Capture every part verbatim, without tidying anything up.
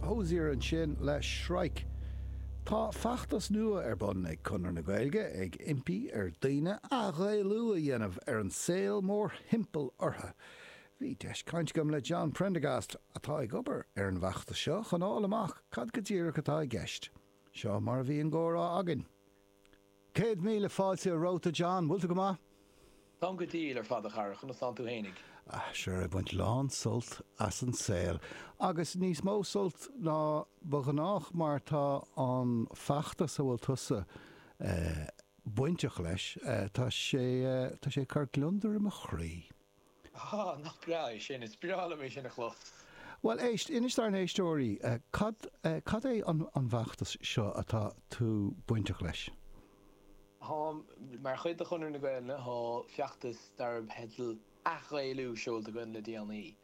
Hozier ansin le Shrike. Tá feachtas nua ar bun ag Conradh na Gaeilge ag impí ar dhaoine athghaelú a dhéanamh ar an saol mórthimpeall orthu. Bhí deis caint agam le John Prendergast atá ag obair ar an bhfeachtas seo chun fháil amach cad go díreach atá i gceist. Seo mar a bhí an comhrá againn. Céad míle fáilte romhat John, bhfuil tú go maith? Tá go diail ar fad a chara conas tánn tú fhéinig. Ah, sure ag baint lán sult as an saol. Agus níos mó sult ná ba ghnách mar tá an feachtas a bhfuil tusa eh, bainteach leis eh, tá sé eh, tá sé cur gliondar i mo chroí. Ah, nach breá é sin is breá liom é sin a chlos. Well éist inis dár n-éisteoirí cad cad é an an bhfeachtas seo atá tú bainteach leis. Tá mar chuid de Chonradh na Gaeilge tá feachtas darb theideal athghaelú seolta againn le déanaí,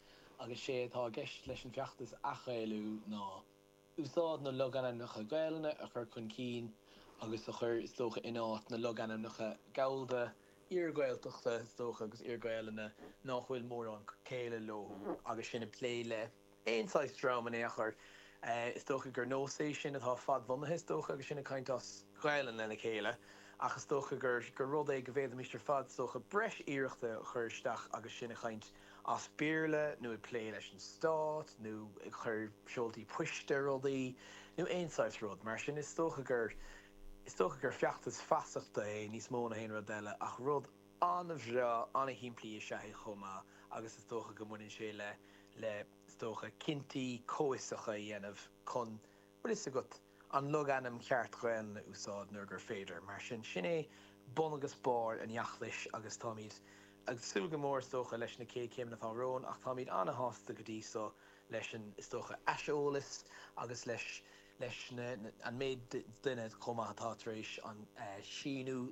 agus sé atá i gceist leis an feachtas athghaelú ná úsáid na logainmneacha Gaelainne a chur chun cinn agus a chur is dócha in áit na logainmneacha Gallda iar-Ghaeltachta is dócha agus iar-Ghaelainne nach bhfuil mórán céille leo agus sin ag plé le aon saghas dream in aon chor. Is dócha gur nós é sin atá fadbhunaithe is dócha agus sin ag caint as Gaelainn lena chéile. ach is dócha gur gur rud é go bhféadfaimis ar fad is dócha breis iarrachta a chur isteach agus sin ag caint as Béarla nó ag plé leis an stát nó ag chur seoltaí poist ar rudaí nó aon saghas rud mar sin is dócha gur is dócha gur feachtas feasachta é níos mó ná haon rud eile ach rud an-bhreá an-shimplí is ea é chomh maith agus is dócha go mbaineann sé le le is dócha cinntí comhfhiosacha a dhéanamh chun bhfuil fhios agat an logainm ceart Gaelainne a úsáid nuair gur féidir. Mar sin sin é bun agus barr an fheachtais agus táimid ag súil go mór is dócha leis na chéad chéimeanna atá romhainn ach táimid an-shásta go dtí so leis an is dócha aiseolas agus leis leis na, an méid duine chomh maith atá tar éis an síniú